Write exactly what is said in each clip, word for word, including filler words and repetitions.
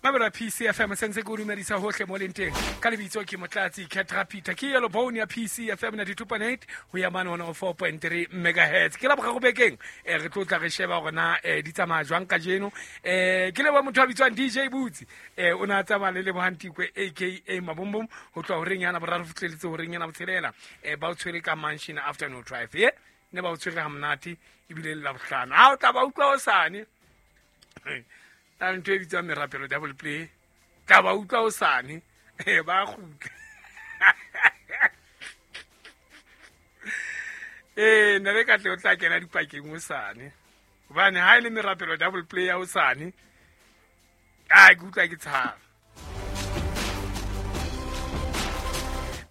Mabela P C F M sentse ke o dumedisa hohle mo leng teng. Ka lebitso ke Motlatsi Ketra Peter. Ke yellow bone ya P C F M ninety-two point eight ho ya mane one oh four point three megahertz. Ke la boraro bekeng eh re tlo tla re sheba hore na eh di tsamaya jwang kajeno. Eh ke leboha motho a bitswang D J Butsi. Eh o na tsamaya le Lebohang Tikwe A K A Mabombom ho tloha horeng yana boraro fihleletse horeng yana botshelela. Eh ba o tshwere ka Mansion Afternoon Drive. Eh ne ba o tshwere ha monate ebile le la bohlano. Ha o tla ba utlwa hosane. Ta ntho e bitswang merapelo double play. Tla ba utlwa hosane. Eh ba kgutla. Eh nna le ka tle o tla kena dipakeng hosane. Hobane ha e le merapelo double play ya hosane, a ke utlwa ke tshaba.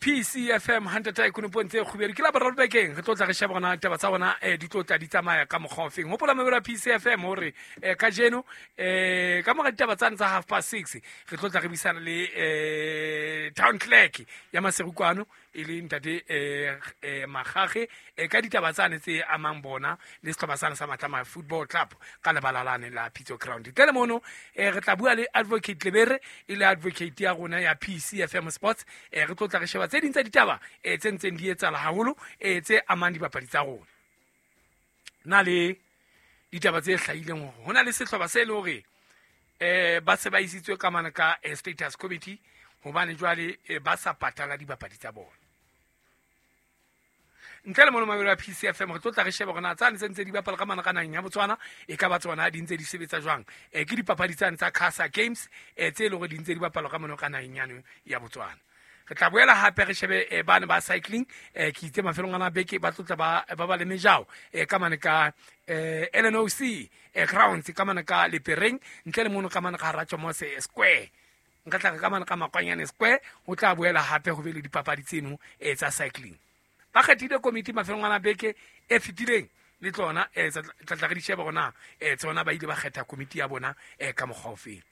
P C F M hundred point tse kgubedu ke la boraro bekeng re tlo tla re sheba gona taba tsa bona eh di tlo tla di tsamaya ka mokgwa ofeng. Hopola mabelo a P C F M hore eh kajeno eh ka mora ditaba tsane tsa half past six re tlo tla re buisana le eh town clerk ya Maseru kwano e le ntate eh eh Magage eh ka ditaba tsane tse amang bona le sehlopha sane sa Matlama Football Club ka lebala lane la Pitso Ground. Tlele mono eh re tla bua le Advocate Lebere e le advocate ya rona ya P C F M Sports eh re tlo tla re sheba tse ding tsa ditaba eh tse ntseng di etsahala haholo eh tse amang dipapadi tsa rona. Na le ditaba tse hlahileng hore hona le sehlopha se le hore eh ba se ba isitswe ka mane ka status committee hobane jwale ba sa patala dipapadi tsa bona. Ntle le mono mabelo a P C F M re tlo tla re sheba hore na tsane tse ntse di bapala ka mane ka naheng ya Botswana e ka ba tsona di ntse di sebetsa jwang. Eh ke dipapadi tsane tsa Casa Games eh tse le hore di ntse di bapalwa ka mane ka naheng ya Botswana. Re tla boela hape re shebe eh, bana ba cycling eh ke itse mafelong ana beke ba tlotla ba ba ba le mejao eh ka mane ka eh L N O C eh grounds ka mane ka Lepereng ntle le mono ka mane ka Ratjomose Square nka tla ka mane ka Makwanyane Square ho tla boela hape ho be le dipapadi tseno eh tsa cycling. Ba kgethile komiti mafelong ana beke e fetileng le tsona eh tla tla re di sheba hore na eh tsona ba ile ba kgetha komiti ya bona eh ka mokgwa ofe.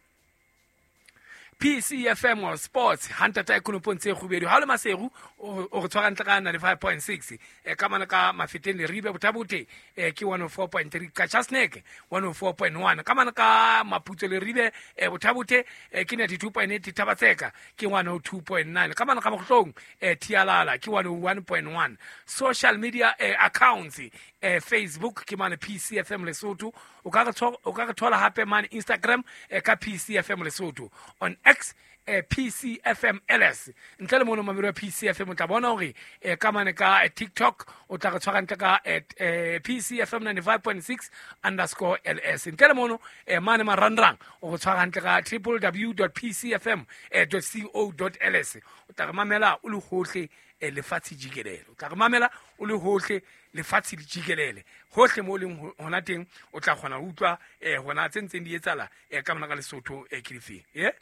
P C F M Sports hantata ekonopong tse kgubedu ha le Maseru o re tshwara ntle ka ninety-five point six eh ka mane ka Mafeteng Leribe Bothabote eh ke one oh four point three ka Chasnek one oh four point one ka mane ka Maputso Leribe eh Bothabote eh ke ninety-two point eight Thabatseka ke one oh two point nine ka mane ka Mohlong eh Tialala ke one oh one point one. Social media eh, accounts eh, Facebook ke mane P C F M Lesotho o ka re o ka re thola hape mane Instagram eh, ka P C F M Lesotho on X eh, P C F M L S ntle le mono mamelo ya P C F M o tla bona hore eh, ka mane ka eh, TikTok o tla re tshwara ntle ka at eh, P C F M ninety-five point six underscore L S ntle le mono eh, mane marangrang o re tshwara ntle ka w w w dot p c f m dot co dot l s o tla re mamela o le hohle eh, lefatshe jikelele o tla re mamela o le hohle lefatshe le jikelele hohle mo leng hona teng o tla kgona ho utlwa eh, hona tse ntseng di etsahala eh, ka mona ka Lesotho eh, ke difeng eh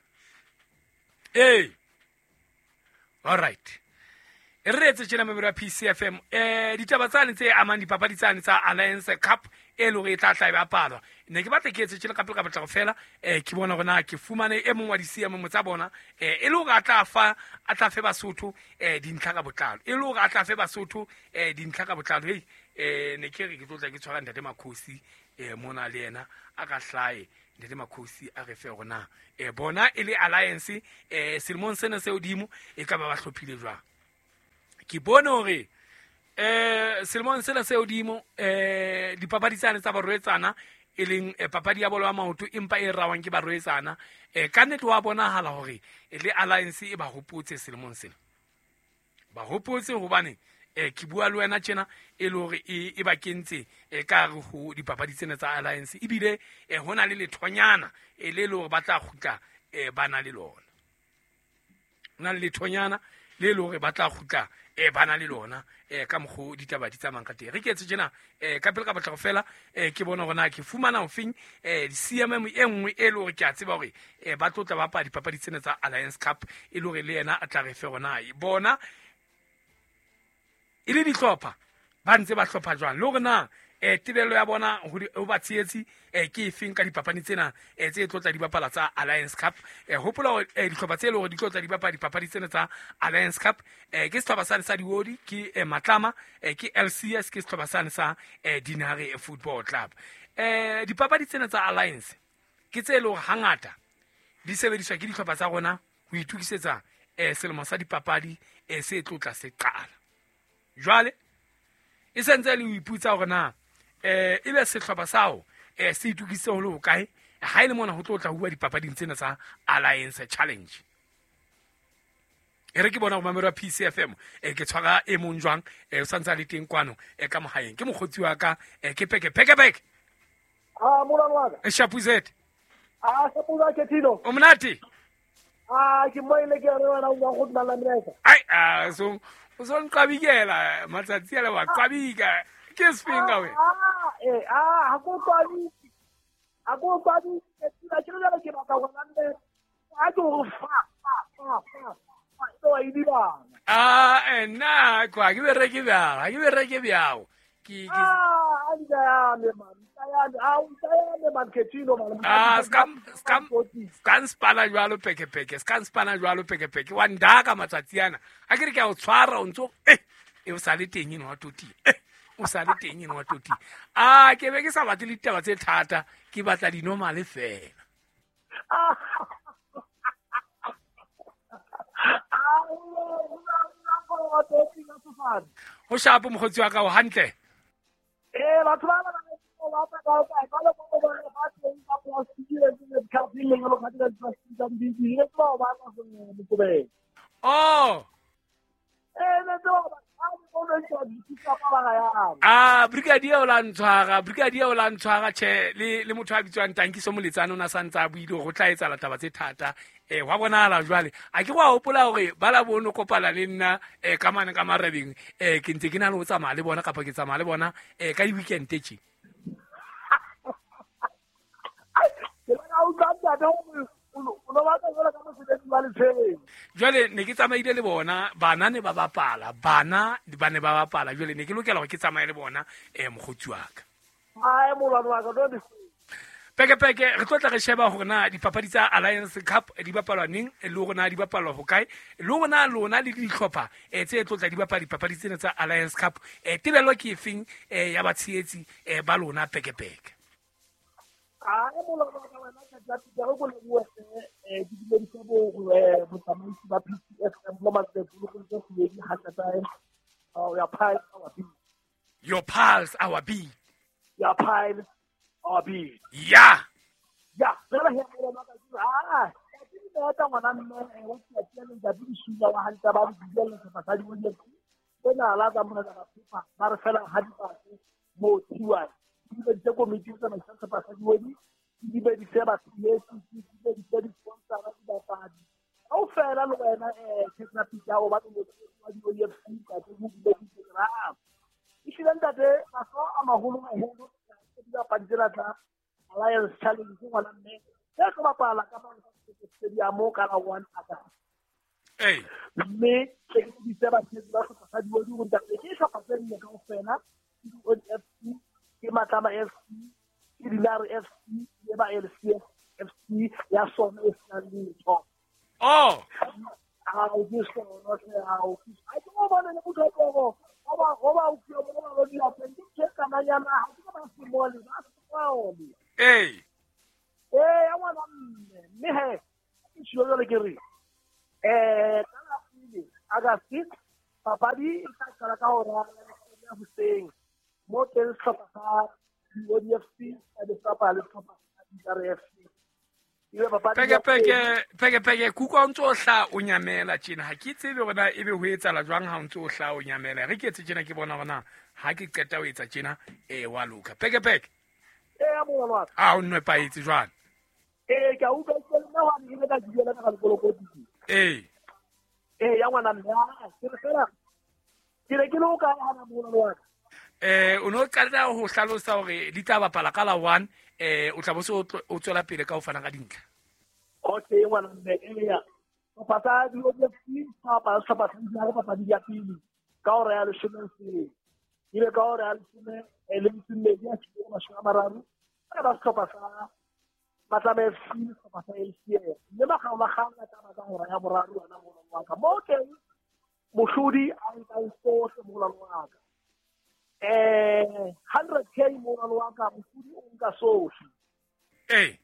Hey. All right. E re etse tjena mabelo a P C F M eh ditaba tsane tse amang dipapadi tsane tsa Alliance Cup e le hore e tla tla e bapalwa. Ne ke batla ke etse tjena ka pele ka batla go fela eh ke bona hore na ke fumane e mong wa di C M tsa bona eh e le hore a tla fa a tla fe Basotho eh dintlha ka botlalo. E le hore a tla fe Basotho eh dintlha ka botlalo. Hey eh ne ke re ke tlo tla ke tshwara ntate Makhosi eh mona le yena a ka hlae ntate Makhosi a re fe hore na eh bona e le Alliance eh selemong sena se hodimo e ka ba ba hlophile jwang. Ke bone hore eh selemong sena se hodimo eh dipapadi tsane tsa barwetsana e leng papadi ya bolo ya maoto empa e rawang ke barwetsana eh ka nnete wa bonahala hore le Alliance e ba hopotse selemong sena. Ba hopotse hobane eh ke bua le wena tjena e le hore e ba kentse e ka re ho dipapadi tsena tsa Alliance ebile eh hona le lethonyana e le le hore ba tla kgutla eh ba na le lona. Hona le lethonyana le le hore ba tla kgutla eh ba na le lona eh ka mokgo ditaba di tsamayang ka teng. Re ke etse tjena eh ka pele ka batla go fela eh ke bona hore na ke fumana ofeng eh C M M e nngwe e le hore ke a tseba hore eh ba tlo tla bapala dipapadi tsena tsa Alliance Cup e le hore le yena a tla re fe hore na bona e le dihlopha ba ntse ba hlopha jwang le hore na eh tebello ya bona ho ba tshehetsi eh ke efeng ka dipapadi tsena eh tse tlo tla di bapala tsa Alliance Cup. Eh hopola hore dihlopha tse le hore di tlo tla di bapala dipapadi tsena tsa Alliance Cup eh ke sehlopha sane sa Diodi ke eh, Matlama eh ke L C S ke sehlopha sane sa eh, Dinare Football Club. Eh dipapadi tsena tsa Alliance ke tse le hore hangata di sebediswa ke dihlopha tsa rona ho itukisetsa eh selemo sa dipapadi eh se tlotla se qala. Jwale e sentse le ho iputsa hore na eh ebe sehlopha sao eh se itukisitse ho le hokae ha ile mona ho tlotla ho bua dipapading tsena tsa Alliance Challenge. E re ke bona go mamelo P C F M e ke tshwara e mong jwang e o santse le teng kwano e ka mohaeng ke mokgotsi wa ka e ke peke peke peke. Ah molwana wa ka. E Shapuzet. Ah Shapuza ke tilo. O monate. Ah ke moile ke re wena o go dumela melaetsa. Ai ah so o so nqabikela matsatsi a le wa qabika ke sefeng we. Ah eh ah ha go qabiki. Ha go qabiki ke tila ke le ke batla go nne. A ke go fa fa fa fa. Ah eh na kwa ke bereke bjao ha ke bereke bjao ke ke ah a me man a o tsaya man ke tino man ah scam scam scan spana jwalo peke peke scan spana jwalo peke peke wa ndaka matsatsi ana ha ke re ke a o tshwara o ntso eh e o sale teng eno wa toti eh o sale teng eno wa toti ah ke be ke sa batle ditaba tse thata ke batla di normal fela. Ah ho shapo mokgotsi wa ka o hantle eh batho ba ba ba ba ba ba ba ba ba ba teng ka plastic le le ka le le ka di plastic tsa di di le ba ba ba mo oh eh le ba ba ah brigadier o la ntshwara brigadier o la ntshwara che le le motho a bitswang Tankiso Moletsane o na santsa a buile go tla etsa taba tse thata eh wa bonahala jwale a ke go a hopola hore ba la bono kopana le nna eh ka mane ka marebeng eh ke ntse ke na le ho tsamaya le bona kapa ke tsamaya le bona eh ka di weekend tje ke la o tla tla jwale ne ke tsamaile le bona bana ne ba bapala bana ba ne ba bapala jwale ne ke lokela hore ke tsamaye le bona eh mokgotsi wa ka ai molwana wa ka don't peke peke re tlotla re sheba hore na dipapadi tsa Alliance Cup di bapalwa neng le hore na di bapalwa hokae le hore na lona le dihlopha eh tse tlotla di bapala dipapadi tsena tsa Alliance Cup eh tebello ke efeng eh ya batshehetsi eh ba lona peke peke. Ah molwana wa ka wena ka tla tla go le bua eh di dumedisa bo botsamaisi ba P C F M mo matsatsi go go go ha tla your pile our beat your pulse our beat your pile our beat yeah yeah fela he molwana ka ah ke di batla ngwana mme wa tsatsi le ntate di sula wa hantsa ba di le sa basadi bo di bona la ka mona ka phepa ba re fela ha di batse mo thiwa di be di komiti tsa matsatsi basadi bo di di be di se ba tsetse di be di di sponsor ba dipapadi kaofela le wena eh ke pitsa o ba le wa di O F C ka tse go di di ra e hlile ntate maso a maholo maholo ke dipapadi tsena tsa Alliance Challenge ngwana mme se tlo bapala ka ba stadium ka la one aka eh mme ke di se ba tsetse ba sehlopha sa di go ntate ke sehlopha se nne kaofela ke di O F C ke Matlama F C ke Dinare F C le ba L C F C ya sona e sena letho. Oh a o ke sona se a o ke a ke go bona le motho o go ba go ba o ke bona ba di a ke ke kana ya na ha ke ba se mole ba se mole eh eh ya ngwana mme mme he ke tshilo jale ke re eh ka la pele August papadi e tla qala ka hora ya hoseng mo teng sehlopha sa O D F C a di bapala le sehlopha sa D R F C. Peke peke peke peke kuka o ntso o hla o nyamela tjena ha ke tsebe hore na ebe ho etsahala jwang ha o ntso o hla o nyamela re ke etse tjena ke bona hore na ha ke qeta ho etsa tjena eh wa loka peke peke eh molwana wa ka a o nnepaetse jwang eh ke a utlwa ke nna wa ne ka duela ka lekolokoti eh eh ya ngwana mme ke re fela ke re ke lo ka hana molwana wa ka eh o no qala ho hlalosa hore di tla bapala ka la one eh o tla bo se o tswela pele ka ho fana ka dintlha. Okay ngwana mme eya sehlopha sa di O F C sa sehlopha sa di papadi ya pele ka hora ya leshome hoseng ebe ka hora ya leshome le metso e mmedi ya mashome a mararo ba ba sehlopha sa Matlama F C sehlopha sa L C F mme makgaolakgang a tla ba ka hora ya boraro wena molwana wa ka mo teng mohlodi a nkang sohle molwana wa ka eh hundred K molwana wa ka mohlodi o nka sohle eh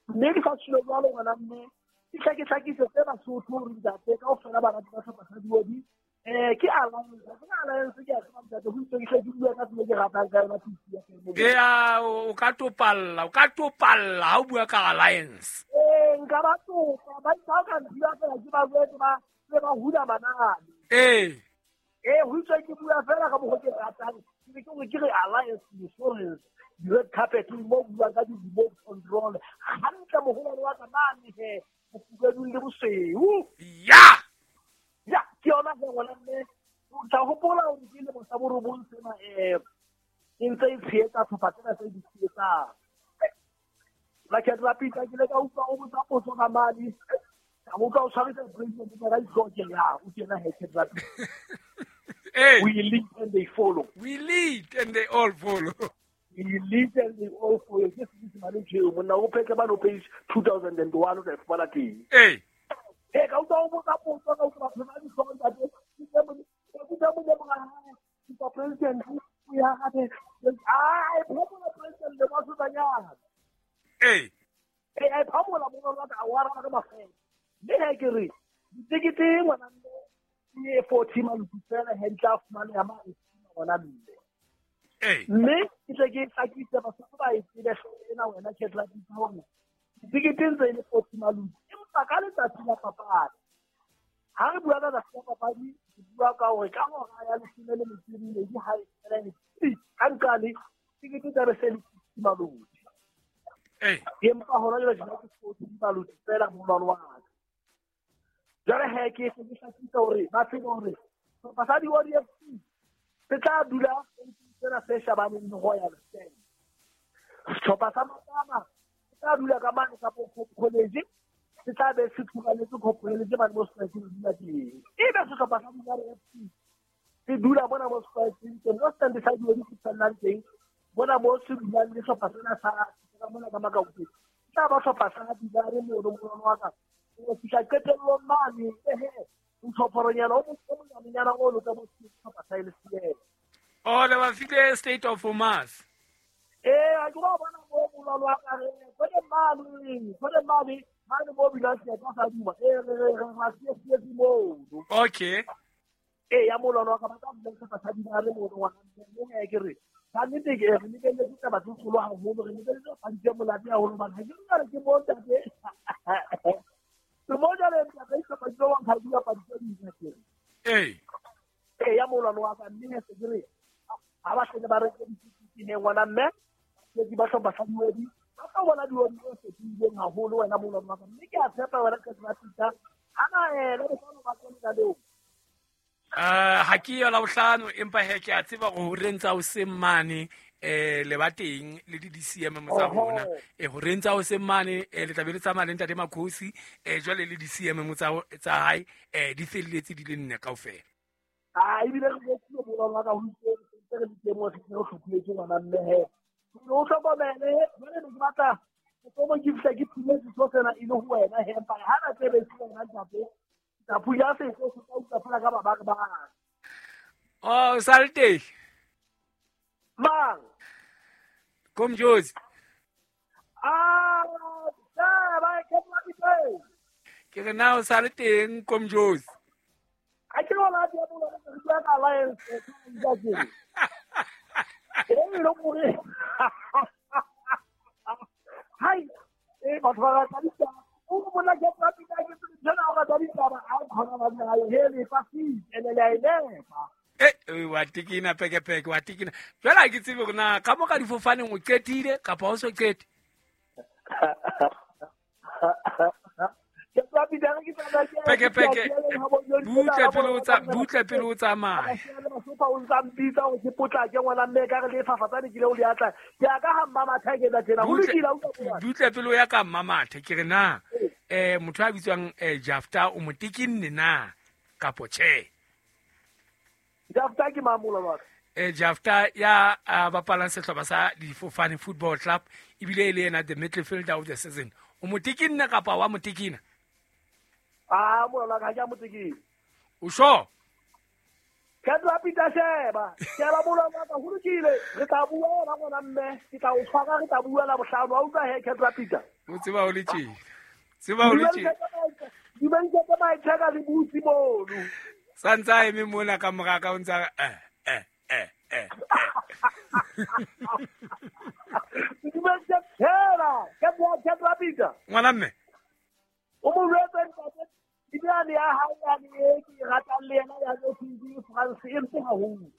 Mme ke sa tshilo jwalo ngwana mme ke hlakehlakise tse Basotho hore ntate kaofela ba rata sehlopha sa Diodi. Eh ke alliance, ke alliance ke a tseba ntate ho itse ke hle ke bua ka tsela ke ratang ka yona P C F M. Ea o ka topalla, o ka topalla ha o bua ka alliance. Eh nka ba topa, ba ba ka nthiba fela ke ba jwetse ba se ba hula manane. Eh eh ho itse ke bua fela ka mokgwa ke ratang, ke ke ke re alliance insurance di-red carpet mo buang ka di-remote control hantle moholo wa ka mane he bofubedung le bosweu. Ya ya ke yona he ngwana mme o tla hopola hore ke lemo sa borobong sena um e ntse e tshehetsa tlhopha tsena tse di tshehetsang. Makgetlo a pitsa ke ile ka utlwa o botsa potso ka mane ka utlwa o tshwarisa president ka dihlooho ke ya o tjena he Khetla Pitsa. We lead and they follow. We lead and they all follow. We lead and they all follow. Ke Senyesemane ntho eo monna o phetle bano page two thousand and one o tla e fumana teng. Ee. Ee ka utlwa o botsa potso ka utlwa batho ba dihlooho ntate. Ke utlwa mo hae ke president o ya gape ah e phomola president le batho ba nyana. Ee. Ee a phomola mo ba ka wa rana ka mafela. Mme ha ke re ditekete ngwana mme ke forty maluti fela he ntla fumane ya mane ngwana mme. Ee. Mme ke tle ke hlakise Basotho ba e tsebe hlooho ena wena Khetla Pitsa hore ditekete ntse e le forty maluti empa ka letsatsi la papadi ha re bua ka letsatsi la papadi re bua ka hore ka hora ya leshome le metso e mmedi ha e fela e ka nqale tekete tsa be se le sixty maluti. Ee. Empa hona jwale jwale ke forty maluti fela molwalo wa ka. Jwale he ke se ke hlakisa hore ba tsebe hore sehlopha sa Diodi F C se tla dula sena se shabaneng le Royal Stand. Sehlopha sa Matama se tla dula ka mane ka college se tla be se thuraletse college mane mo se dula teng. Ebe sehlopha sa Dinare F C se dula mona mo se teng mo stand sa Diodi se tsallang teng mona mo se dulang le sehlopha sena sa ka mona ka Makaukeng. Se tla ba sehlopha sa Dinare mono mono wa ka. O fihla qetellong mane ehe nthophoronyana o monyanenyana o lo ka mo sehlopha sa L C L. Oh, le ba file State of Mars. Eh, a ke ba bona mo molwalo wa ka re kgone mane, kgone mane, mane mo bina se ka sa duma. Eh re re re ra se se mo. Okay. Eh ya molwalo wa ka ba ka mo sehlopha sa Dinare mono wa mme ke re ka nnete ke re lebelletse taba tse kgolo haholo re lebelletse papadi tse monate haholo hobane ha ke re ke mo ntate. Ke mo jale ntate sehlopha se wa nka dipapadi tse ding ke. Eh. Eh ya molwalo wa ka mme se ke re ha ba hlele ba reke ditikete he ngwana mme ke ba hlopha sa Diodi ba tla bona Diodi e fetohileng haholo wena molwalo wa ka mme ke a tshepa wena ka Pitsa hana eh le bohlano ba tsene ka leo. Eh ha ke yo la bohlano empa he ke a tseba hore ho rentsa o se mane eh le ba teng le di D C M tsa rona eh ho rentsa o se mane eh le tla be le tsamaya le ntate Makhosi eh jwale le D C M tsa tsa hae eh di felletse di le nne kaofela. Ah ebile re botse molwalo wa ka ho itse re le teng mo se re hlophiletse ngwana mme he o hlokomele jwale ne ke batla o ke fihla ke phumetse so sena e le ho wena he empa ha na tsebe se wena ntate tsa phunya se se ka utlwa fela ka ba ba ba. Oh salte mang Komjozi ah ba ke tla ke re na o sale teng Komjozi a ke bona di bua re bua ka alliance ke e le gore hai e batho ba rata ditaba o monna ke tla pina ke tsena o rata ditaba a khona ba nna he le fa fi ene le a ile eh wa tikina peke peke wa tikina jwale ha ke tsebe hore na ka mo ka difofaneng o qetile kapa o so qete. Peke peke butle pele o tsa butle pele o tsamaya. O ntsa mpitsa hore ke potlake ngwana mme ka re le fafatsane ke le o le atla ke ya ka ha mmamathe ke tla tjena ho lokile o utlwa butle pele o ya ka mmamathe ke re na eh motho a bitswang eh Jafta o motikinne na kapo tjhe. Jafta ke mamola wa ka eh Jafta ya bapalang sehlopha sa Difofane Football Club ebile e le yena the midfielder of the season o motikinne kapa wa motikina? Ah mola ka ja motikina. O sure? Ke tla pita sheba sheba mola wa ka ho lokile re tla bua yona ngwana mme ke tla o tshwara re tla bua la bohlano wa utlwa he ke tla pita. O tseba o le tjena. Tseba o le tjena. Dumedisa ka maithaka le butsi mono. Santsa a eme mona ka mora ka o ntsa eh eh eh eh. Dumedisa fela ka bua ka Peter. Ngwana mme. O mo jwetse ntate Diane ya hae ya e ke ratang le yena ya T V France e mpe haholo.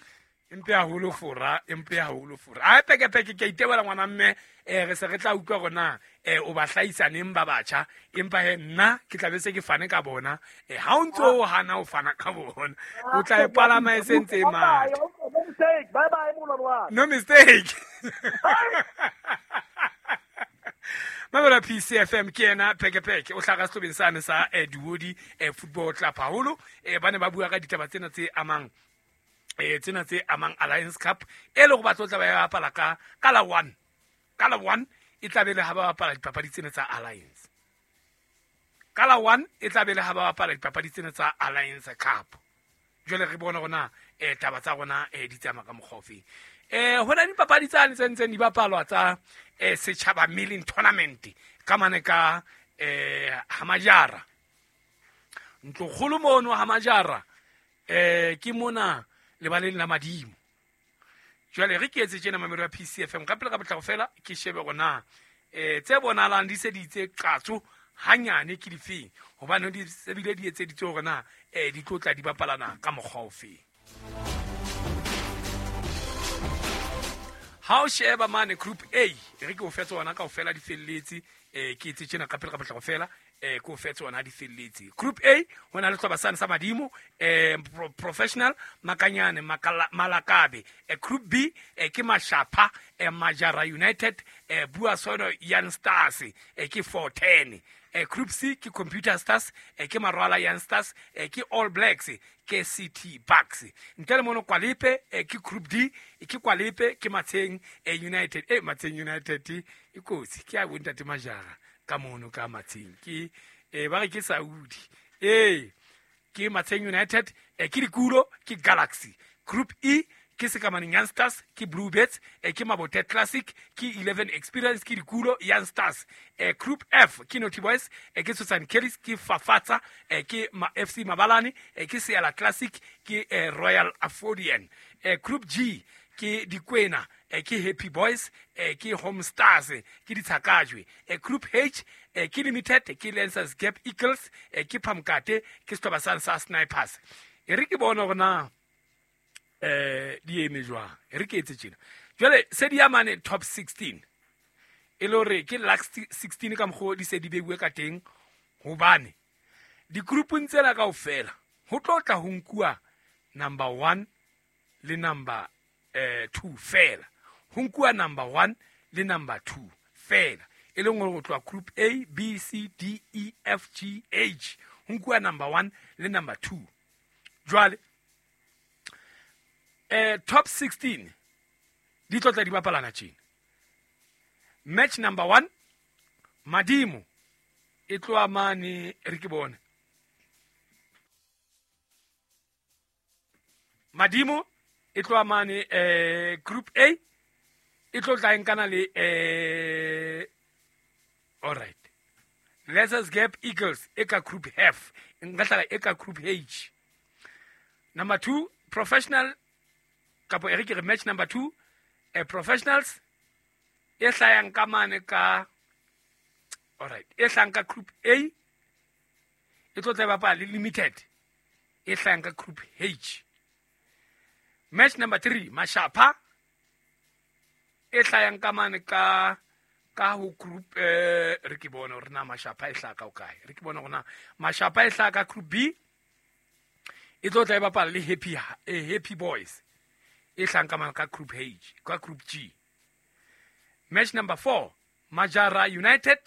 Empe haholo fora, empe haholo fora. A peke peke ke itebela ngwana mme eh re se re tla utlwa rona eh o ba hlahisa neng ba batjha empa he nna ke tla be se ke fane ka bona eh ha o ntso o hana o fana ka bona o tla e palama e sentse e matha. No mistake. Bye bye molwane wa. No mistake. Mamela P C F M ke ena peke peke o hlaga sehlobeng sane sa eh, Diwodi eh, Football Club haholo eh, ba ne ba bua ka ditaba tsena tse amang eh tsena tse amang Alliance Cup e le go batlo tla ba ya bapala ka ka la one ka la one e tla be le ha ba bapala dipapadi tsena tsa Alliance ka la one e tla be le ha ba bapala dipapadi tsena tsa Alliance Cup. Jwale re bona rona eh taba tsa rona eh di tsamaya ka mokgwa ofe eh hona dipapadi tsane tse ntseng di bapalwa tsa eh setjhaba milling tournament ka mane ka eh Hamajara ntlokgolo mono Hamajara eh ke mona lebaleng la madimo. Jwale re ke etse tjena mamelo ya P C F M ka pele ka botlako fela ke shebe rona eh tse bonalang di se di itse qatso hanyane ke difeng hobane di sebile di etseditse hore na eh di tlotla di bapalana ka mokgwa ofe. Ha o sheba mane group A re ke o fetse ona kaofela di felletse eh ke etse tjena ka pele ka botlako fela eh ke o fetse ona di felletse. Group A hona le hloba sane sa madimo eh pro, professional Makanyane Makala, Malakabe. Eh, group B eh, ke Mashapha eh, Majara United eh, Buasono Young Stars eh, ke four ten. Eh, group C ke Computer Stars eh, ke Marwala Young Stars eh, ke All Blacks ke C T Bucks. Ntle le mono Kwalepe eh, ke group D eh, ke Kwalepe ke Matsheng eh, United eh Matsheng United e kotsi ke a bontate Majara ka mono ka Matsheng ke eh ba re ke Saudi eh ke Matsheng United eh, ke Dikulo ke Galaxy. Group E ke Sekamane Young Stars ke Blue Birds eh, ke Mabote Classic ke eleven Experience ke Dikulo Young Stars. Eh, Group F ke Naughty Boys eh, ke Susan Kellis ke Fafatsa eh, ke Ma F C Mabalane eh, ke Seala Classic ke eh, Royal Afodian. Eh, Group G ke Dikwena eh, ke Happy Boys eh, ke Home Stars eh, ke Ditshakajwe. Eh, Group H eh, ke Limited ke Lancers Gap Eagles eh, ke Phamkate ke Sehloba sa Snipers. E re ke bona hore na eh di eme jwang e re ke etse tjena jwale se di amane top sixteen e le hore ke last sixteen ka mokgwa di se di beuwe ka teng hobane di-groupung tsena kaofela ho tlo tla ho nkuwa number one le number eh two fela ho nkuwa number one le number two fela e leng hore ho tloha group A B C D E F G H ho nkuwa number one le number two. Jwale eh top sixteen di tlotla di bapalana tjena. Match number one Madimo e tloha mane re ke bone Madimo e tloha mane eh group A e tlotla nkana le eh all right Lancers Gap Eagles e ka group F nka hlala e ka group H. Number two professional kapo e re ke re match number two eh, professionals e hlayang ka mane ka all right e hlayang ka group A e tlo tla bapala le Limited e hlayang ka group H. Match number three Mashapha e hlayang ka mane ka ka ho group eh re ke bona hore na Mashapha e hlaka o kae re ke bona hore na Mashapha e hlaka group B e tlo tla bapala le Happy eh, Happy Boys e hlang ka mane ka group H ka group G. Match number four Majara United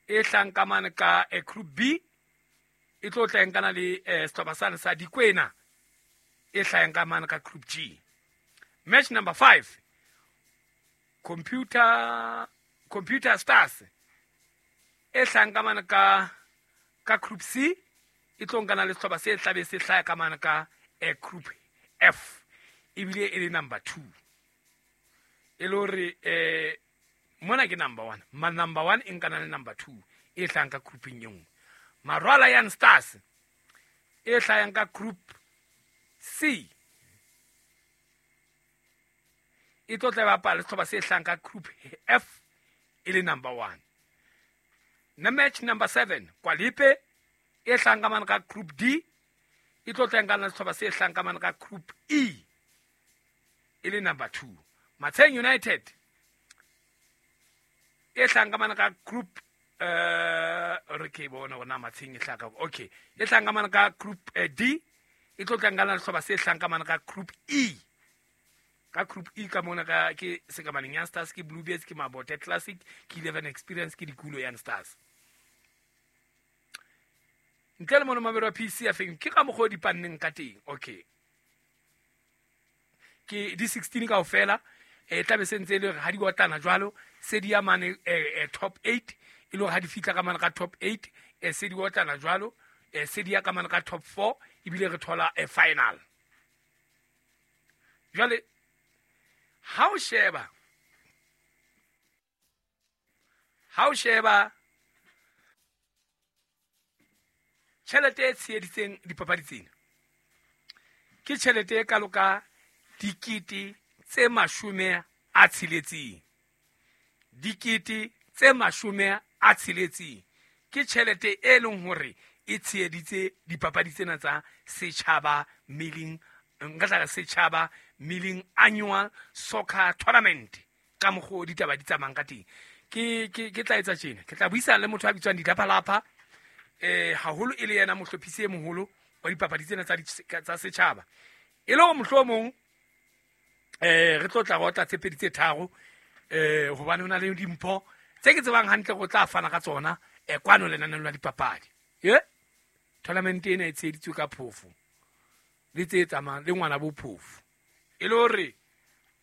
e hlang ka mane ka eh, group B e tlo tla nkana le eh, sehlopha sane sa Dikwena e hlang ka mane ka group G. Match number five Computer Computer Stars e hlang ka mane ka ka group C e tlo nkana le sehlopha se tlabe se hlaya ka mane ka eh, group F ebile e le number two e le hore eh Mona ke number one. Ma number one e nkana le number two e hlahang ka grouping e nngwe. Marwala Young Stars e hlahang ka group C e tlo tla bapala sehlopha se hlahang ka group F e le number one. Na match number seven Kwalipe e hlahang ka mane ka group D e tlo tla nkana le sehlopha se hlahang ka mane ka group E e le number two. Matsheng United e hlahang ka mane ka group eh re ke bona hore Matsheng e hlaha ka okay e hlahang ka mane ka group D e tlo tla nkana le sehlopha se hlahang ka mane ka group E. Ka group E ka mona ka ke Sekamaneng Young Stars, ke Bluebeards, ke Mabote Classic, ke Eleven Experience, ke Dikulo Young Stars. Ntle le mono mabelo a P C F ke ka mokgwa o di panneng ka teng. Okay, ke di sixteen kaofela e tla be se ntse e le hore ha di otlana jwalo se di ya mane top eight e le hore ha di fihla ka mane ka top eight e se di otlana jwalo e se di ya ka mane ka top four ebile re thola a final. Jwale ha o sheba ha o sheba tjhelete e tsheheditseng dipapadi tsena ke tjhelete e kalo ka dikete tse mashome a tsheletseng. Dikete tse mashome a tsheletseng ke tjhelete e leng hore e tsheheditse dipapadi tsena tsa Setjhaba Milling, nka tla re Setjhaba Milling Annual Soccer Tournament ka mokgwa o ditaba di tsamayang ka teng. Ke ke ke tla etsa tjena, ke tla buisana le motho a bitswang Ditlapalapha eh haholo e le yena mohlophisi e moholo wa dipapadi tsena tsa tsa setjhaba e le hore mohlomong eh re tlo tla rota tse pedi tse tharo eh hobane ho na le dimpho tse ke tsebang hantle go tla fana ka tsona eh kwano lenaneo la dipapadi. Ye tournament ena e tsheheditswe ka phofo le tse tsamayang le ngwana bo phofo e le hore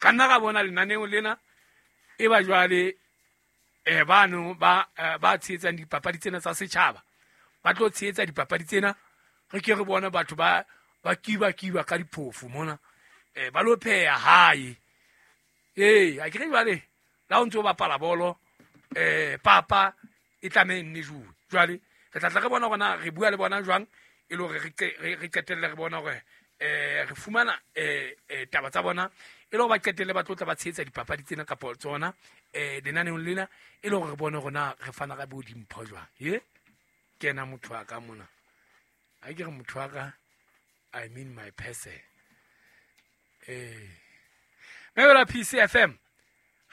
ka nna ra bona lenaneo lena e ba jwale eh bano ba ba tshehetsang dipapadi tsena tsa setjhaba ba tlo tshehetsa dipapadi tsena. Re ke re bona batho ba ba kiba kiba ka diphofo mona eh ba lo pheha hae. Eh a ke re jwale la o ntso bapala bolo eh papa e tlameha nne juwe. Jwale re tla tla re bona hore re bua le bona jwang e le hore re re qetelle re bona hore eh re fumana eh taba tsa bona e le hore ba qetelle ba tlo tla ba tshehetsa dipapadi tsena kapa tsona eh lenaneong lena e le hore re bone hore na re fana ka bo dimpho jwang. Ye ke ena motho wa ka mona. Ha ke re motho wa ka, I mean my person. Eh Mebela P C F M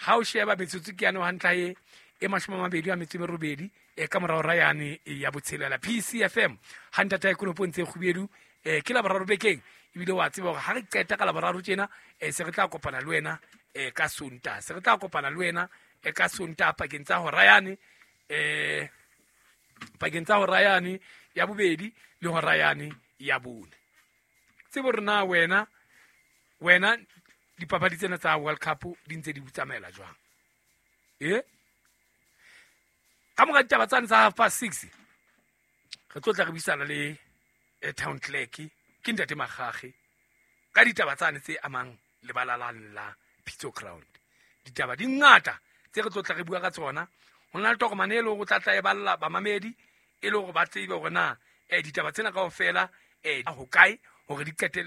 ha o sheba metsotso ke yane hantla e e mashome a mabedi a metso e merobedi e ka morao ra yane ya botshelela P C F M ha ntata e konopong tse kgubedu eh ke la boraro bekeng ebile wa tseba hore ha re qeta ka la boraro tjena eh se re tla kopana le wena eh ka Sontaha, se re tla kopana le wena eh ka Sontaha pakeng tsa hora yane eh pakeng tsa hora yane ya bobedi le hora yane ya bone. Tsebo re na wena wena dipapadi tsena tsa World Cup di ntse di tsamaela jwang? Eh ka mora ditaba tsane tsa half past six re tlo tla re buisana le town clerk ke ntate Magage ka ditaba tsane tse amang lebala la la Pitso Ground. Ditaba di ngata tse re tlo tla re bua ka tsona. Ho na le tokomane e le hore o tla tla e balla bamamedi e le hore ba tsebe hore na eh ditaba tsena kaofela eh ho kae hore di qetelle.